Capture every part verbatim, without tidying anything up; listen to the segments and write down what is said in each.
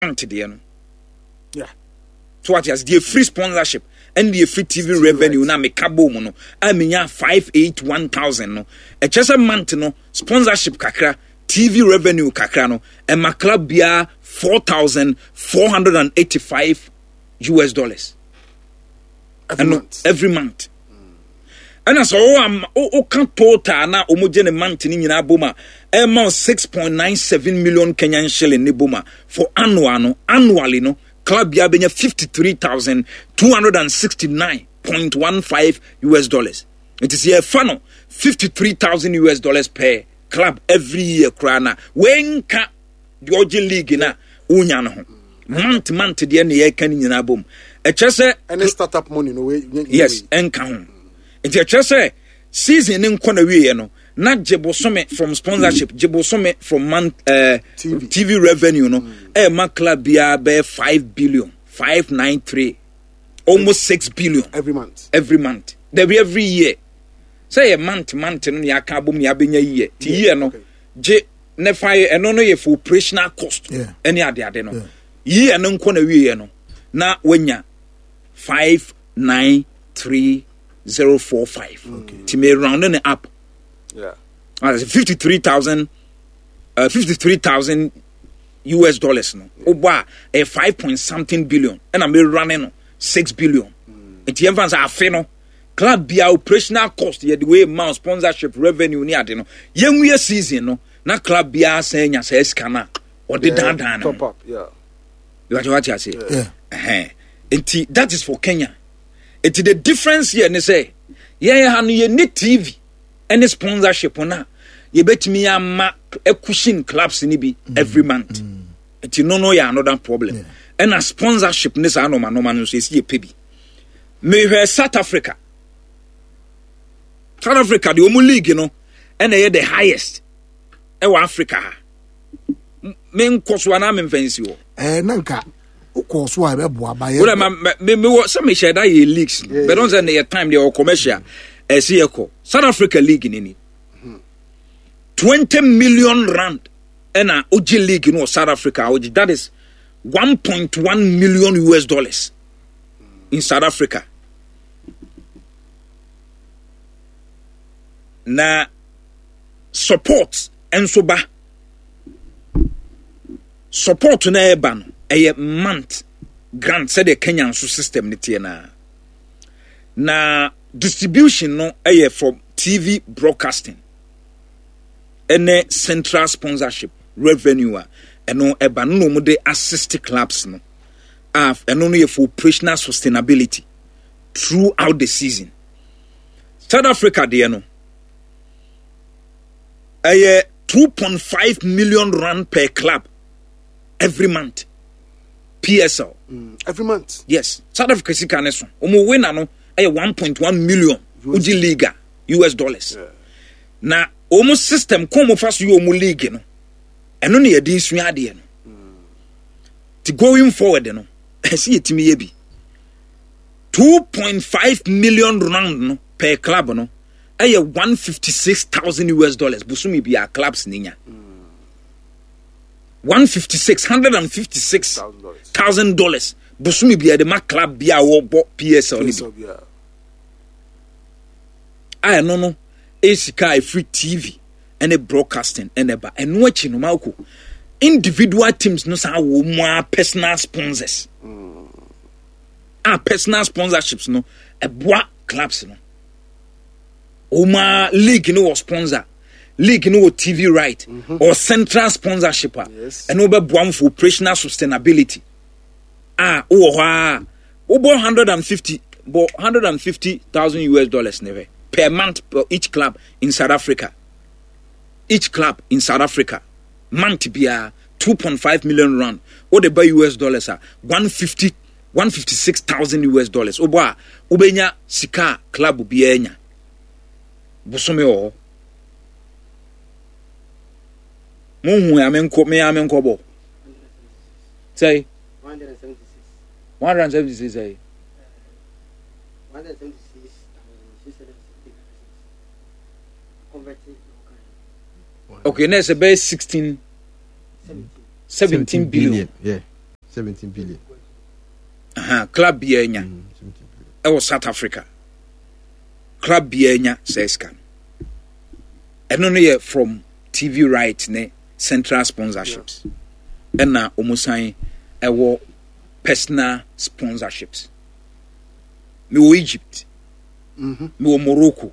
Deɛ no Yeah. So what ase deɛ free sponsorship ɛne deɛ free T V revenue na meka bɔ mu no a, menya five eight one thousand no, ɛkyɛ sɛ month no sponsorship kakra, T V revenue kakra no, ɛma club biara four thousand four hundred and eighty five U S dollars. Every ɛno month. Every month. Ɛna sɛ ɔwɔ ama woka total na wɔn gye ne month ne nyinaa bom a, ɛma wo six point nine seven million Kenyan shilling ne bom a, for annual no, annually no, club biara bɛnya fifty three thousand two hundred and sixty nine point one five U S dollars. Nti sɛ yɛfa no fifty three thousand U S dollars per club every year koraa na wɔnka deɛ ɔgye league na wonya no ho month month deɛ ne yɛka no nyinaa bom, ɛkyɛ sɛ Any startup money no way. Yes, ɛnka ho. Nti ɛkyerɛ sɛ season ne nkɔ na wieɛ no na gye bosome from sponsorship, gye bosome from month uh, T V. T V revenue no, ɛma club biara bɛyɛ five billion five nine three, almost six billion. Every month. Every month, dabi, every year. Sɛ yɛ month month no ne aka abom ne abɛnya year ti year no okay. Gye ne fa yɛ ɛno no yɛ for operational cost Yeah. ɛne adeade no. Yeah. Year no nkɔ na wieɛ no na wanya five nine three zero four five. Ti me round ne up. Yeah. fifty three thousand uh, fifty three thousand U S dollars no, wobɔ a, ɛyɛ five point something billion, ɛna me run no six billion. Nti yɛn fa sɛ afe no club bia operational cost, yɛde wei ma sponsorship revenue ne ade no, yɛnwie season no na club biara san nya saa sika no a ɔde daadaa no. Top up. Yeah. Wate wate ase? Yeah. Ɛhɛn. Nti that is for Kenya. Nti the difference here ne sɛ yɛn ha no, yɛne T V ɛne sponsorship no a yɛbɛtumi ama cushion clubs ni bi every month. Nti no no yɛ another problem. Ɛna sponsorship ne saa nɔɔma nɔɔma no nso, yɛsi yɛ pɛ bi. Mehwɛ South Africa. South Africa deɛ, wɔn league no ɛna ɛyɛ the highest ɛwɔ Africa ha. M- menkɔ so anaa memfa nsi hɔ? Ɛɛ, na nka wokɔɔ so a ɛbɛboa ba yɛ. Wọ́n ma me me wɔ sɛ mehyɛ da yɛ leagues no, but ɔn sɛ ne yɛ time deɛ ɔwɔ commercial ɛsi yɛ kɔ. South Africa league ni ni twenty million rand ɛna ogye league no wɔ South Africa a ogye, that is one point one million U S dollars in South Africa. Na support nso ba, support na ɛba no ɛyɛ month grant, sɛdeɛ Kenya nso system ne teɛ naa. Na distribution no ɛyɛ from T V broadcasting ɛne central sponsorship revenue a ɛno ɛba no na wɔn de assist clubs no a, ɛno no yɛ for operational sustainability throughout the season. South Africa deɛ no ɛyɛ two point five million rand per club every month, P S L. Mm. Every month. Yes, South Africa sika ne so, wɔn winner no ɛyɛ one point one million wogye league a, U S dollars. Yeah. Na wɔn system kɔn mo fa so yɛ wɔn league no, ɛno na yɛde sua adeɛ no. Ti going forward no, ɛsi yɛtumi yɛ bi. two point five million rand no per club no ɛyɛ one fifty six thousand U S dollars bosomi bi a clubs ne nya. one fifty six hundred and fifty six Thousand dollars. Thousand dollars bosomi bi a yɛde ma club bi a wɔbɔ P S L ne bi. P S L, yeah. A ɛno no ɛyɛ sika a ɛfiri T V ɛne broadcasting ɛna ɛba. Ɛno akyi no, Malco, individual teams no saa wɔ mu a personal sponsors a, personal sponsorships no ɛboa clubs no. Wɔn a league no wɔ sponsor, league no wɔ T V right or central sponsorship a, Yes. ɛno bɛboa mo for operational sustainability a wowɔ hɔ a wobɔ hundred and fifty bɔ hundred and fifty thousand U S dollars ne hwɛ per month per each club in South Africa. Each club in South Africa, month biara two point five million rand, wode ba U S dollars a, one fifty one fifty six thousand U S dollars. Wobɔ a, wobɛnya sika a club biara nya bosome wɔ hɔ. Monhu a menkɔ me a menkɔbɔ sɛi one hundred and seventy-six sɛi. one hundred seventy-six thousand six hundred seventy-nine. Okay, na ɛsɛ bɛyɛ sixteen seventeen billion. Yeah. Seventeen billion. Aha, club biara nya. Mm, ɛwɔ South Africa. Club biara nya saa sika no. Ɛno no yɛ from T V right ne central sponsorships. Ɛna wɔn san ɛwɔ personal sponsorships. Mewɔ Egypt, mewɔ Morocco,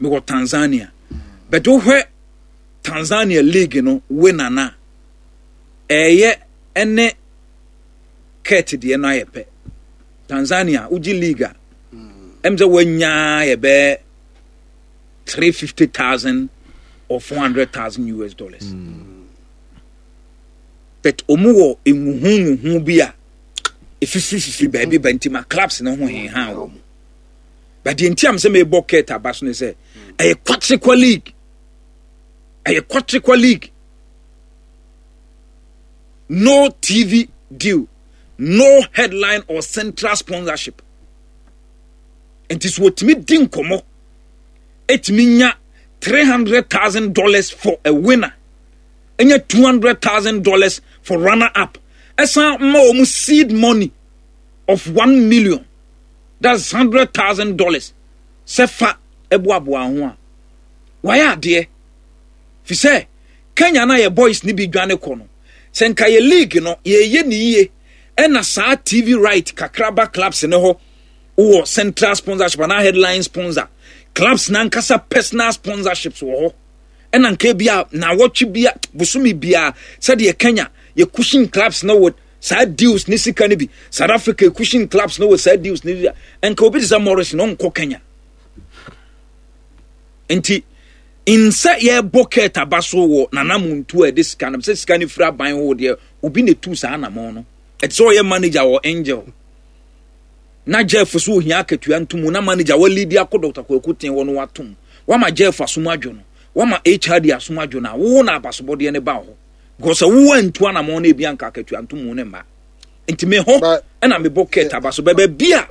mewɔ Tanzania. But wohwɛ Tanzania league no winner na ɛyɛ ɛne Kurt deɛ no ayɛ pɛ. Tanzania wogye league a, ɛm sɛ wanyaa yɛ bɛɛ three fifty thousand or four hundred thousand U S dollars. Mm. But ɔmu wɔ nhuhu nhuhu bi a efifiri baabi ba nti ma clubs ne ho henhan wɔ mu. But deɛ nti am sɛ mebɔ Kurt aba so ne sɛ ɛyɛ kwakyekwa league, ɛyɛ kwakyekwa league, no T V deal, no headline or central sponsorship. Nti so wɔtumi di nkɔmmɔ ɛtumi nya three hundred thousand dollars for a winner, ɛnya two hundred thousand dollars for runner up, ɛsan ma wɔn seed money of one million, that's hundred thousand dollars, sɛ fa ɛboaboa ho a wayɛ adeɛ fi sɛ Kenya na yɛ boys ni bi dwane kɔ no. Sɛ nka yɛ league no yɛyɛ ne yie, ɛna saa T V right kakraba clubs ne hɔ wɔ central sponsorship anaa headline sponsor, clubs nankasa personal sponsorships wɔ hɔ, ɛna nka bi a nawɔtwe bi a bosome bia, sɛdeɛ Kenya yɛ cushion clubs no wɔ saa deals ne sika no bi, South Africa yɛ cushion clubs no wɔ saa deals ne bi a, nka obi te sɛ Morris no nkɔ Kenya. Nti nsɛ yɛbɔ Kurt aba so wɔ nanamontu a ɛde sika no sɛ sika no firi aban hɔ deɛ, obi na etu saa anamɔn no. Ɛte sɛ ɔyɛ manager wɔ Angel na Jeff so ohia akatua ntom na manager walidi akɔ Doctor Kwaku ten wɔ no watom wama Jeff asom adwo no, wama H R D asom adwo no a, wo na abasobɔdeɛ no ba hɔ because sɛ wo antu anamɔn no, ebi anka akatua ntom no mma. Nti me hɔ ɛna mebɔ Kurt aba so bɛbɛ bi a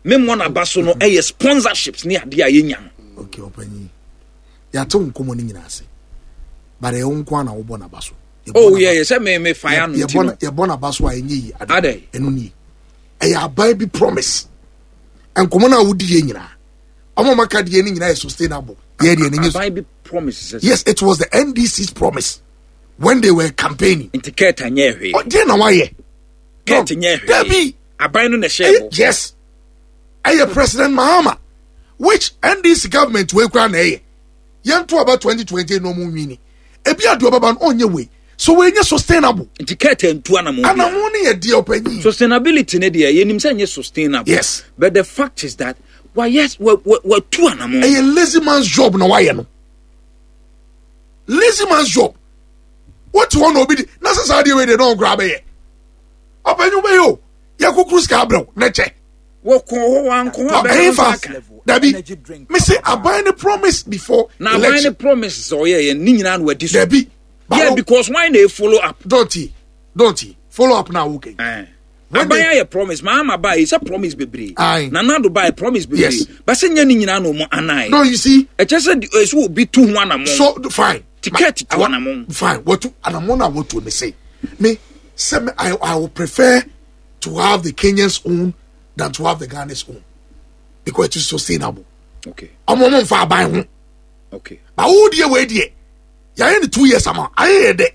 memmɔ n'aba so no, ɛyɛ sponsorships ne adeɛ a yɛnya no. Okay, ɔpanyin, yɛate wo nkɔmmɔ no nyinaa ase, but ɛyɛ wo nko a na wobɔ n'aba so. Oh yeah, sɛ me me fire no nti no. Yɛbɔ n'aba so a ɛnyɛ yi. Ade. Ɛno nie, ɛyɛ aban bi promise. Nkɔmmɔ no a wodi yɛ nyinaa, ɔmo maka deɛ no nyinaa yɛ sustainable. Yɛ deɛ no nyɛ. Aban bi promise sɛ. Yes, it was the N D C's promise when they were campaigning. Nti Kurt anyɛ hwee? Ɔdeɛ na wayɛ. Kurt nyɛ hwee? Dabi. Aban no na ɛhyɛ bɔ. Yes, ɛyɛ President Mahama, which N D C government wei kura na ɛyɛ yɛn to aba twenty twenty na ɔmo nwini ebi adi ɔbɛba no, ɔnyɛ wei so wei nyɛ sustainable. Nti Kurt ntu anamɔ bi? Anamɔ ne yɛ deɛ, ɔpanyin. Sustainability ne deɛ, yɛnim sɛ nyɛ sustainable. Yes. But the fact is that wayɛ wa wa watu anamɔ. Ɛyɛ lazy man's job na wayɛ no, lazy man's job. Wote hɔ na obi di na sɛ saa deɛ wei deɛ na ɔnkora bɛyɛ, ɔpanyin, bɛyɛ o, yɛ kukuru sika abrɛw ne kyɛ. Wɔkɔ hɔ, wankɔ hɔ abɛn. Ɛyɛ dabi, mese aban ne promise before na aban ne election. Promise sɛ ɔyɛ yɛ ne nyinaa na wadi so. Dabi. Yeah, because why na follow up? Don't he don't he follow up na okay. Eh. When aban they- ayɛ promise, Mahama ba yi sɛ promise bebree. Aye. Nana Addo ba yɛ promise bebree. Yes. Bɛsɛ nyɛ ne nyinaa na ɔmo anan. No, you see. Ɛkyɛ sɛ di- ɛsɛ obi tu ho anamɔ. So fine. Ticket tu I want- anamɔ. Fine, wɔtu anamɔ na wɔtu me say me say me I I would prefer to have the Kenyans own than to have the Ghanaians own because it is sustainable. Okay ɔmo ɔmo nfa aban ho. Okay ba wo deɛ, wei deɛ yɛayɛ ne two years ama ayɛ yɛ dɛ.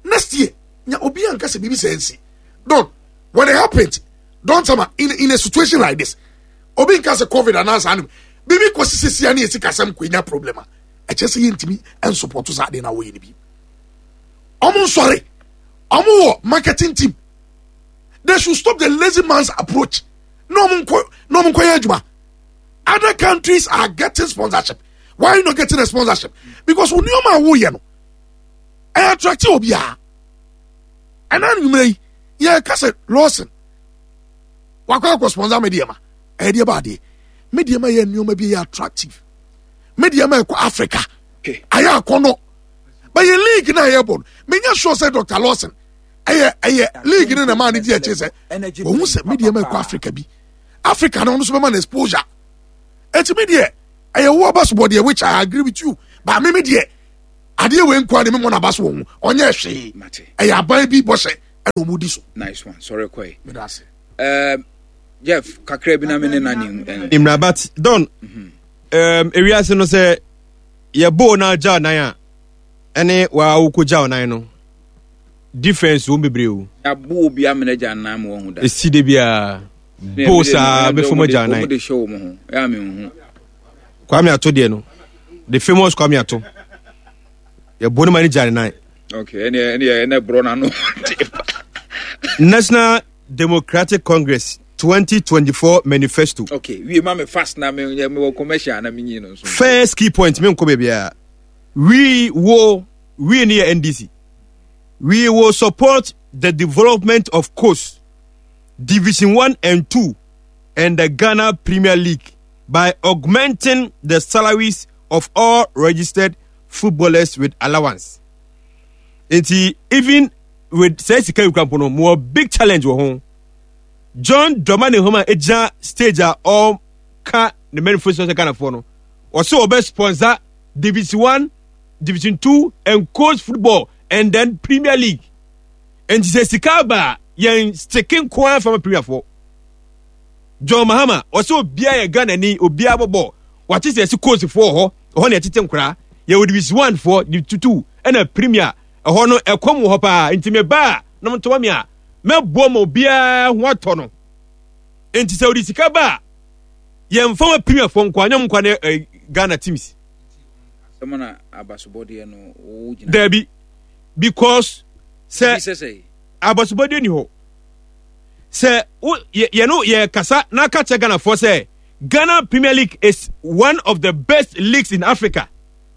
Next year nya obi anka sɛ biribi sɛ nsi. Don, when it happens, don sama in in a situation like this, obi nka sɛ COVID anaasɛ anom biribi kɔ sisi sia ne yɛsi kasɛm kɔ enya problem a ɛkyɛ sɛ yɛntumi nsupport saa adeɛ na wɔyɛ no bi. Ɔmo nsɔre, ɔmo wɔ marketing team, they should stop the lazy man's approach na ɔmo nkɔ na ɔmo nkɔ yɛ adwuma. Other countries are getting sponsorship. Why are you not getting a sponsorship? Because wo nneɛma a woyɛ no ɛyɛ attractive obiara. Ɛna nnwuma yi yɛka sɛ Lawson wakɔ akɔ sponsor Medeama, ɛyɛ deɛ ba adeɛ Medeama yɛ nneɛma bi yɛ attractive. Medeama ɛkɔ Africa ayɛ akɔnɔ, but yɛ league na yɛ bɔ no, menya sure sɛ Doctor Lawson ɛyɛ ɛyɛ league no na maa ne di akyire sɛ wɔn sɛ Medeama ɛkɔ Africa bi, Africa no nso bɛma no exposure. Eti mi deɛ, ɛyɛ wo aba so bɔ deɛ, which I agree with you, but mi mi deɛ, adeɛ wei nkwa de mi mɔ n'aba so wɔn ho, ɔnyɛ hwee. Ɛyɛ aban bi bɔhyɛ Ɛna ɔmo di so. Nice one. Sorry kɔɛ. Meda ase. Um, Jeff, kakra bi na me ne nani. Nimra, but Don, um, ewiase no sɛ yɛboo na agya nan a ɛne waa wokɔgya nan no difference wɔm bebree o. Yɛabo obi amena gya nan ma wahu da. Ɛsi de biara boo saa bɛfam agya nan. Wɔn de hyɛ wɔn ho. Ɛyɛ ame nhu. Kwame Ato deɛ no, the famous Kwame Ato. Yɛbɔ no ma ne gya ne nan. Okay, ɛne ɛne ɛne borɔ n'ano. National Democratic Congress twenty twenty-four manifesto. Okay, wie ma me fast na me me wɔ commercial na me nyi no nso. First key point, me nkɔ baabiara. We will, we ne yɛ N D C. We will support the development of colts, Division one and two and the Ghana Premier League by augmenting the salaries of all registered footballers with allowance. Nti even with sɛ sika yi kura mpo no, mo wɔ big challenge wɔ ho. John Dramani Mahama egyina stage a ɔka ne manifesto sɛ Ghanafoɔ no, ɔsɛ ɔbɛ sponsor Division one, Division two and colts football and then Premier League. Nti sɛ sika aba a, yɛn stick nko ara fama Premier foɔ. John Mahama ɔsɛ obiara yɛ Ghana ni, obiara bɔbɔ wate sɛ ɛsi colts foɔ wɔ hɔ, ɛhɔ na yɛtete nkoraa. Yɛwɔ Division one foɔ, Division two ɛna Premier. Ɛhɔ no ɛkɔm wɔ hɔ paa. Nti me ba a na mo ntoma mi a mɛboa ma obiara ho atɔ no. Nti sɛ ɔde sika ba a, yɛmfa ma Premier foɔ nko anyɛ nkwa ne eh, Ghana teams. Asɛm na abasobɔdeɛ no wo gyina. Dabi, because sɛ Bi sɛ sɛ abasobɔdeɛ ni hɔ sɛ wo yɛ yɛ no yɛ kasa na aka kyerɛ Ghanafoɔ sɛ Ghana Premier League is one of the best leagues in Africa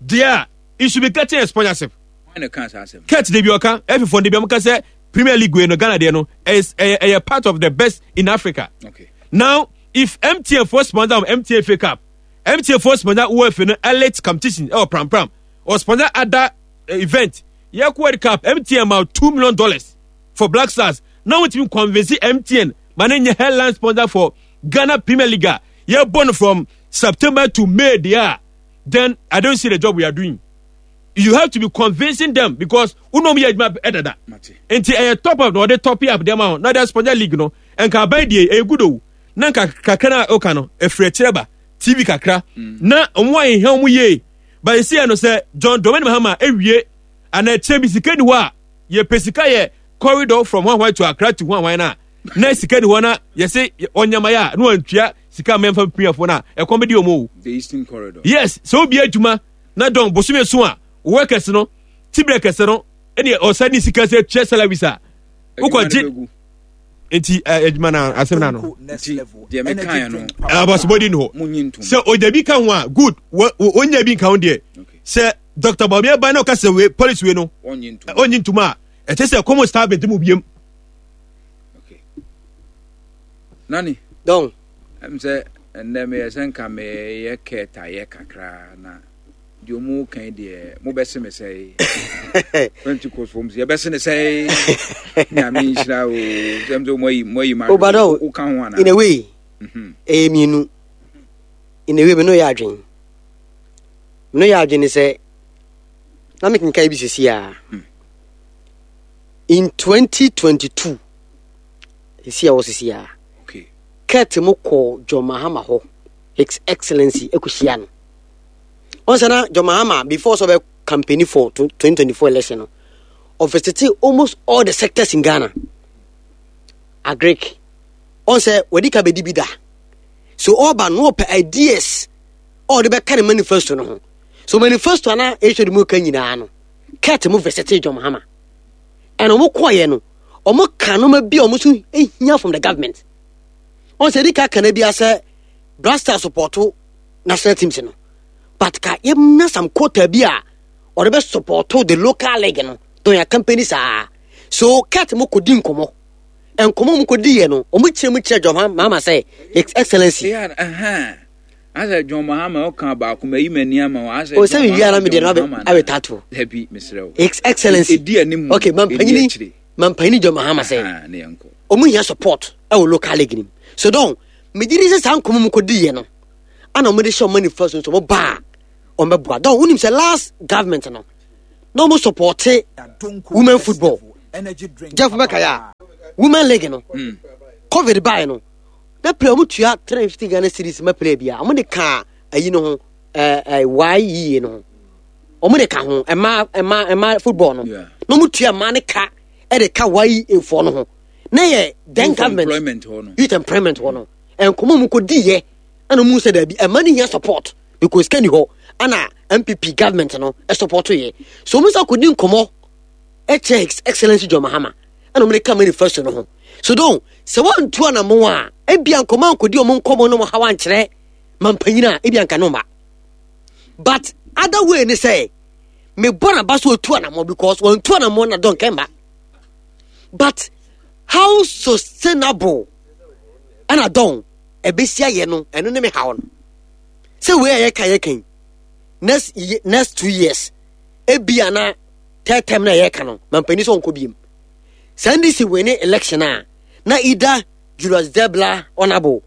deɛ, it should be getting a sponsorship. Wɔn na ka saa asɛm. Kurt de bi ɔka ɛfifoɔ de bi ɔmo ka sɛ Premier League wei no, Ghana deɛ no ɛyɛ ɛyɛ ɛyɛ part of the best in Africa. Okay. Now if M T N foɔ sponsor um, M T N F A Cup, M T N foɔ sponsor UEFA no elite competition ɛwɔ Pram Pram or sponsor other uh, event, yɛ kɔ World Cup, M T N ma two million dollars for Black Stars, na wɔn ti convince M T N ma ne nyɛ headline sponsor for Ghana Premier League a yɛ bɔ no from September to May deɛ, then I don't see the job we are doing. You have to be convincing them because wɔn yɛ adwuma ɛdada. Mate. Nti ɛyɛ top up na ɔde top up deɛ ma wɔn na ɔde sponsor league no. Nka aban deɛ ɛyɛ good o, na nka kakra na ɔka no efiri akyerɛ ba T V kakra na wɔn a yɛhia wɔn yie ba esi yɛ no sɛ John Dramani Mahama ewie ana akyerɛ bi sika ni hɔ a yɛpɛ sika yɛ corridor from Hwanhwan to Accra to Hwanhwan na na sika ni hɔ na yɛsɛ ɔnyama yɛ a na wɔntua sika mɛnfa piafoɔ na ɛkɔm bɛ di wɔn o. The Eastern Corridor. Yes, sɛ obi adwuma na dɔn bosome so a workers no tibirɛ kɛse no ɛne ɔsa ne sika sɛ tua salaries a wokɔgye nti ɛ, adwuma no asɛm no ano. Nti deɛ mekaeɛ no abasobɔdi ni hɔ. Munyi ntom. Sɛ ɔgya bi ka ho a, good. wɔ- wɔ- ɔnya bi nka ho deɛ Okay. sɛ Doctor Bawumia ba na ɔka sɛ wei policy wei no Ɔnyi ntom. ɔnyi ntom a, ɛkyɛ sɛ kɔmɔ star bɛdi mu biem. Okay. Nani, Don. ɛm sɛ ɛnnɛ meyɛ sɛ nka meyɛ kɛɛtayɛ kakra na deɛ ɔmu kan deɛ mobɛse me sɛe Pentecost fom sɛ yɛbɛse ne sɛe. Nyame nhyira o sɛm sɛ moayi moayi ma. Obadɔ. Woka ho anaa? In a way, Mhm. ɛyɛ mmienu. In a way, me no yɛ adwen me no yɛ adwen ne sɛ na mekenkan bi sisi a in twenty twenty-two sisi a wɔ sisi a Okay. Kurt mo kɔ John Mahama hɔ, His Excellency ɛkɔhyia no. Ɔn sɛ na John Mahama before sɛ ɔbɛ campaign for twenty twenty-four election no, ɔvisite almost all the sectors in Ghana. Agric, ɔn sɛ wɔde ka bɛdi bi da so ɔba no ɔpɛ ideas a ɔde bɛka ne manifesto no ho. So manifesto ana ɛhwɛ de mu ka nyinaa no, Kurt mo visite John Mahama ɛna ɔmo kɔɔyɛ no, ɔmo ka nneɛma bi a ɔmo nso ehia from the government. Ɔn sɛ ɛdi ka kana bi asɛ Black Star support national teams no, but ka yɛnya some quota bi a ɔde bɛ support the local league no don yɛ company saa. So Kurt mo kɔdi nkɔmɔ, nkɔmɔ mo kɔdi yɛ no, ɔmo kyerɛ mu kyerɛ John Mahama sɛ His Excellency Yeah, uh-huh. Asɛ John Mahama ɔka baako ma yi m'ani ama wo. Asɛ o sɛ mi wia na mi deɛ no abɛ abɛta to. Dabi, mesrɛ wo. His Excellency. Ɛdi anim. Okay, mampanyini akyire. Mampanyini John Mahama sɛ Aha, ne yɛnkɔ. Ɔmo hia support ɛwɔ local league nim. So don megye di sɛ saa nkɔmɔ mu kɔdi yɛ no ana ɔmo de hyɛ ɔmo manifesto nso ɔmo ba a ɔmo bɛboa. Don wonim sɛ last government no na ɔmo support women football Jeff bɛka yɛ a women league no Mm. COVID bae no na player ɔmo tua three hundred fifty Ghana cedis ma player bia, ɔmo de ka ayi no ho, ɛɛ ɛɛ yie no ho, ɔmo de ka ho ɛma ɛma ɛma football no. Yeah. Na ɔmo tua mmaa ne ka ɛde ka Y E foɔ no ho na yɛ then Youth government employment hɔ no. Youth employment hɔ no, nkɔmɔ mu kɔ di yɛ ɛna ɔmo sɛ daabi, ɛma ne nya support because sika ni hɔ, ɛna N P P government no ɛsupport yɛ, so ɔmo sɛ akɔdi nkɔmɔ ɛkyɛ His Excellency John Mahama, ɛna ɔmo de ka manifesto no ho. So don sɛ wɔntu anamo a, ebia nkɔmɔ ankɔdi ɔmo nkɔmɔ no mo ha wankyerɛ mampanyin a, ebia nka no ma. But other way ne sɛ mebɔ n'aba so otu anamo because wɔntu anamo na dɔn kɛmba, but how sustainable ɛna dɔn ɛbɛsi ayɛ no, ɛno ne me haw no sɛ wei a yɛka yɛka yi, next ye- next two years, ebia na third term na yɛka no, mampanin sɛ ɔnkɔ biem saa N D C wei ne election a, na either Julius Debla, honourable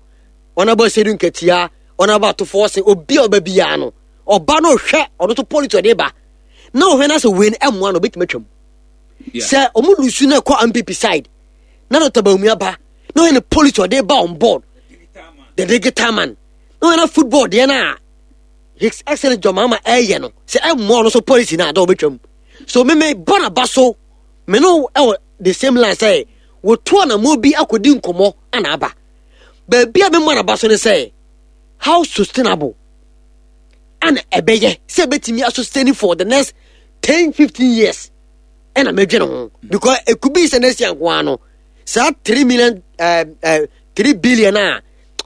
honourable Asiedu Nketia, Honourable Ato Forson, obi a ɔba biara no, ɔba no ɔhwɛ ɔno to politics ɔde ba na ɔhwɛ na sɛ wei no ɛmmoa no, ɔbɛtumi atwam. Yeah. Sɛ ɔmo lose na ɛkɔ N P P side na Doctor Bawumia ba na ɔyɛ ne policy ɔde ba on board, the digital man, na ɔyɛ na football deɛ no a His Excellence John Mahama ɛyɛ no sɛ ɛmmoa ɔno so policy no a, dɛ ɔbɛtwam. So meme bɔ n'aba so, me no ɛwɔ the same line sɛ wɔtu anammɔ bi akɔdi nkɔmmɔ ana aba baabi a memmɔ n'aba so ne sɛ how sustainable ana ɛbɛyɛ sɛ ɛbɛtumi asustain for the next ten fifteen years, ɛna mɛdwene ho because it could be sɛ next year nko ara no, saa three million uh, uh, three billion a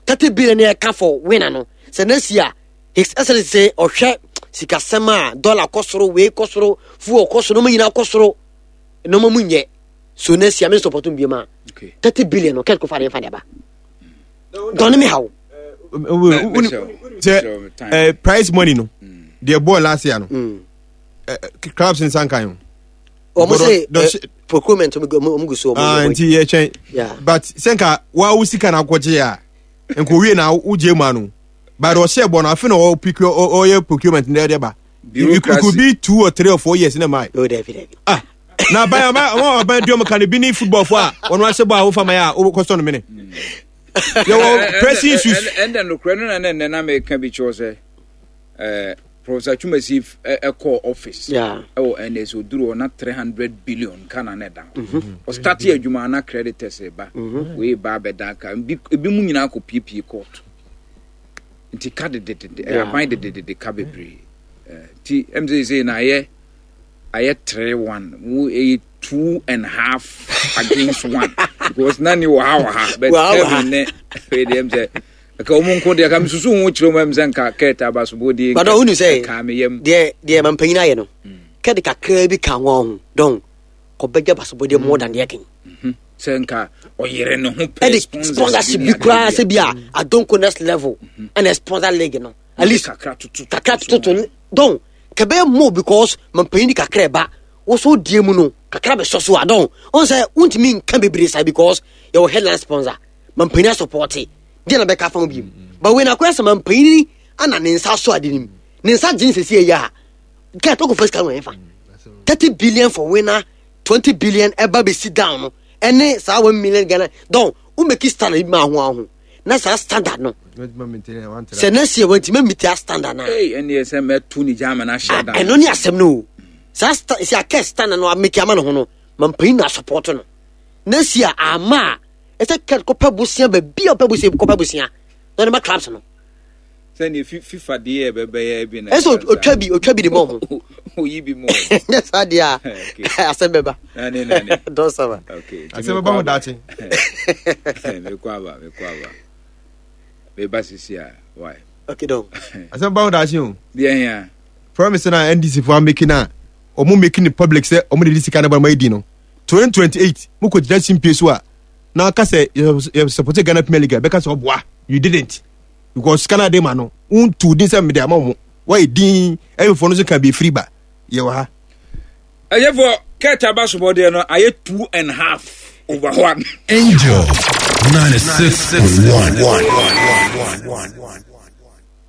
thirty billion yɛ ka for winner no, sɛ next year His Excellence sɛ ɔhwɛ sikasɛm a dollar kɔ soro, wei kɔ soro, fuel kɔ soro, nneɛma nyinaa kɔ soro, nneɛma mu nyɛ so, next year me support bi ma Okay. thirty billion no kɛt ko fa de fa de ba dɔnni mi ha o. Sɛ eh, prize money no deɛ bɔɔl last year no, eh, eh, clubs nsa nkan o. Wɔn But sɛ dɔ- eh, procurement ɔmo gu ɔmo gu so ɔmo Ah, ɔmo- nti yɛkyɛn. Yeah. But sɛ nka waa wo sika na akɔgye a, nka owie na wogye mu ano, but ɔhyɛ bɔ no afe na ɔprocure ɔyɛ procurement na ɛde ba. It could Bureaucracy. be two or three or four years na ma. O dɛbi dɛbi. Ah, na aban aban wɔn aban di ɔmo ka ne bi ne football fo a ɔno ahyɛ bɔ a wofa ma yɛ a wokɔsɔ no mene yɛwɔ pressing issues. Ɛndɛ nokorɛ no na ne nnɛ na meka bi kyerɛw sɛ eh, Professor Twumasi ɛkɔɔ office Yeah. ɛwɔ N S oduru hɔ na three hundred billion ka na ne da hɔ. Ɔstart adwuma na creditors ba, wei ba abɛda ka ebi ebi mu nyinaa kɔ piepie court, nti ka dededede ɛyɛ Yeah. aban dededede ka bebree. Eh, nti ɛm sɛ sɛ na ayɛ ayɛ three one wo, ɛyɛ two and half against one because na ni wɔ ha wɔ ha, but Wɔ ha, wɔ ha. Kevin ne wei deɛ, ɛm sɛ ɛka wɔn nko deɛ ka mesusu ho kyerɛ mu, ɛm sɛ nka kɛt abasobɔ But ɔhunu sɛ ka me yam. deɛ deɛ mampanyin ayɛ no, kɛde kakraa bi ka ho ho dɔn kɔbɛgya basobɔdeɛ more than deɛ kɛn. Sɛ nka ɔyere ne ho pɛ Ɛde sponsorship bi koraa sɛ bi a adonko next level ɛna sponsor league no at least kakra tutu kakra tototo dɔn kɛbɛyɛ more because mampanyin di kakra ɛba woso die mu no kakra bɛsɔ so a, dɔn ɔn sɛ wontumi nka bebree sa because yɛwɔ headline sponsor, mampanyin asupport deɛ na bɛka fa ho bi mu. But wei na akɔyɛ sɛ mampanyin ana ne nsa so ade nim ne nsa gye nsɛsi ɛyɛ a kɛ tɔkɔ first kan wɔn fa thirty billion for winner, twenty billion ɛba bɛsi down no, ɛne saa one million Ghana dɔn wo make standard bi ma aho aho na saa standard no sɛ next year wɔntumi meet that standard na Ei, ɛne sɛ mɛto ne gya ama no ahyɛ da. Ɛno ne asɛm no o. Saa sta sɛ akɛ standard no ameki ama ne ho no, mampanyin na support no next year ama a ɛsɛ kɛ kɔpɛ bosia baabi a ɔpɛ bosia kɔpɛ bosia na ɔde ma clubs no. Sɛneɛ Fi- FIFA deɛ ɛbɛbɛyɛ bi na Ɛsɛ otwa bi otwa bi de ma ɔmo. Oyi bi mu. Nyɛ saa deɛ a, Okay. asɛm bɛba. Nane, nane. Dɔn sama. Okay, nti Asɛm bɛba ho daakye. Mekɔ aba, mekɔ aba, meba sisi a why. Okay, dɔn. Asɛm bɛba ho daakye o. Deɛ hia. Promise na N D C fo ameki na ɔmo making it public sɛ ɔmo de di sika ne bɔ ɔmo adi no twenty twenty-eight, mo kɔ gyina simpie so a na aka sɛ yɛ yɛ support Ghana Premier League a, bɛka sɛ ɔboa. You didn't because sika na de ma no ntu din sɛ mede ama mo, wɔyɛ din ɛyɛfoɔ no so ka bi efiri ba yɛwɔ ha. Ɛyɛfoɔ kɛt abasobɔdeɛ no ayɛ two and half over one. Angel ninety-six point one.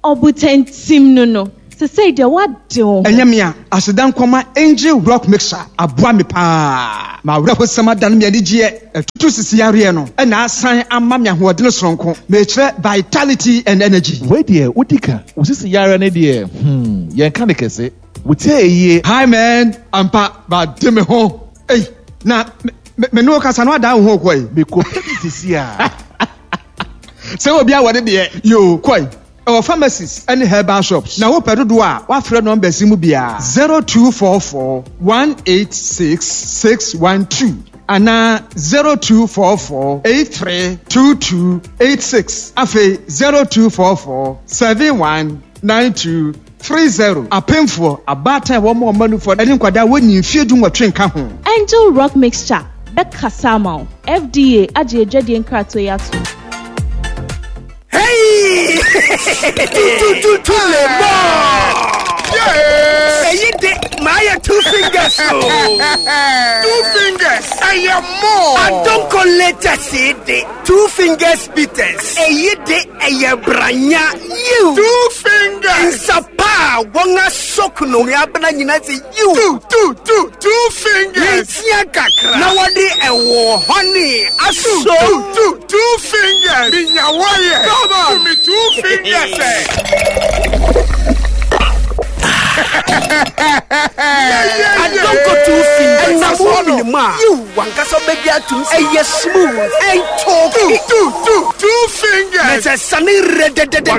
Ɔbotantim no no. Sesei deɛ woade wo ho. Ɛnyɛ me a, aseda nkɔma Angel Rock Mixture aboa me paa. M'awerɛhosɛm adane me anigyeɛ. Ɛtutu sisi yareɛ no ɛna asan ama me ahoɔden soronko. Mekyerɛ vitality and energy. Wei deɛ wodi ka wo sisi yareɛ ne deɛ, hmm, yɛnka ne kɛse. Wotie eyie. Hi man, ampa bade me ho. Ei, na me me ne wo kasa no adan wo ho kɔe. Mekɔ pɛ bi sisi a. Sɛ obi awɔ ne deɛ, yoo, kɔe. Ɛwɔ pharmacies ne herbal shops. Na wopɛ dodoɔ a, woafrɛ numbers yi mu biara, zero two four four one eight six six one two anaa zero two four four eight three two two eight six. Afei zero two four four seven one nine two three zero. Apemfoɔ, abaatan a wɔn ɔma nufoɔ ne nkwadaa a wɔnni mfeɛ du nwɔtwe nka ho. Angel Rock Mixture bɛkasa ama wo. F D A agye adwadie nkratoɔ yi ato. Hey! Two, two, two, two, le more. Eyi de maa two fingers o. Two fingers. Ɛyɛ more. Adonko latest yi de two fingers bitters. Eyi de ɛyɛ branya yiw. Two fingers. Nsapa a wɔn asɔk no ne abena nyinaa sɛ yiw. Two, two, two, two fingers. Ntia kakra. Na wɔde ɛwɔ honey aso. Two, two, two fingers. Minya wɔyɛ. Come on. To me two fingers. Eh. Adonko two fingers. Ɛnam wo minimu a yiw wankasa bɛdi atum sɛ ɛyɛ smooth ɛntɔɔki. Two, two, two fingers. Na sɛ sane rɛdɛdɛdɛdɛ.